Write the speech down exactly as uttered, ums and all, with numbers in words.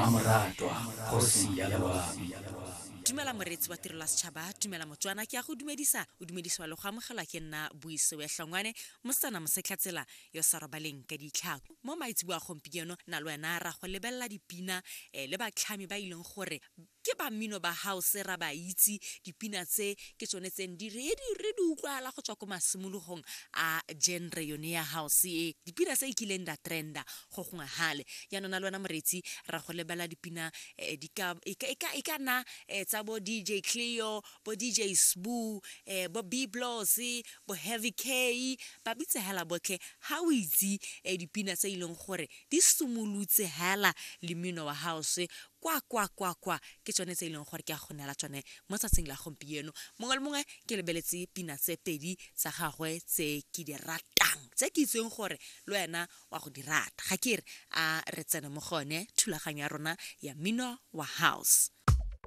Mmamoratwa kgosi ya loabi. Dumela moreetsi wa Tirelo ya Setšhaba, dumela Motswana, ke a go dumedisa, o dumedisiwa le go amogelwa ke nna Buisewe Hlongwane, mosetsana mosetlhatsela yo sa robaleng ka ditlhako. Mo maitseboa gompieno na le wena ra go lebelela dipina um le batlhami ba e leng gore ke ba mmino ba house, ra ba itse dipina tse ke tsone tse di re di re di utlwala go tswa ko masimologong a genre yone ya house e, dipina tse e kileng da trenda go gongwe gale. Jaanong na le wena moreetsi ra go lebelela dipina eh, di ka e ka e ka e ka nna eh, tsa bo D J Cleo, bo D J Sbu, eh, bo Biblos, bo Heavy K, ba bitse hela botlhe. Ha o itse eh, dipina tse e leng gore di simolotse hela le mmino wa house kwa kwa kwa kwa, ke tsone tse e leng gore ke a go neela tsone mo tsatsing la gompieno. Mongwe le mongwe ke lebeletse pina tse pedi tsa gagwe tse ke di ratang, tse ke itseng gore le wena wa go di rata. Ga ke re a re tsene mo gone thulaganyo ya rona ya mmino wa house.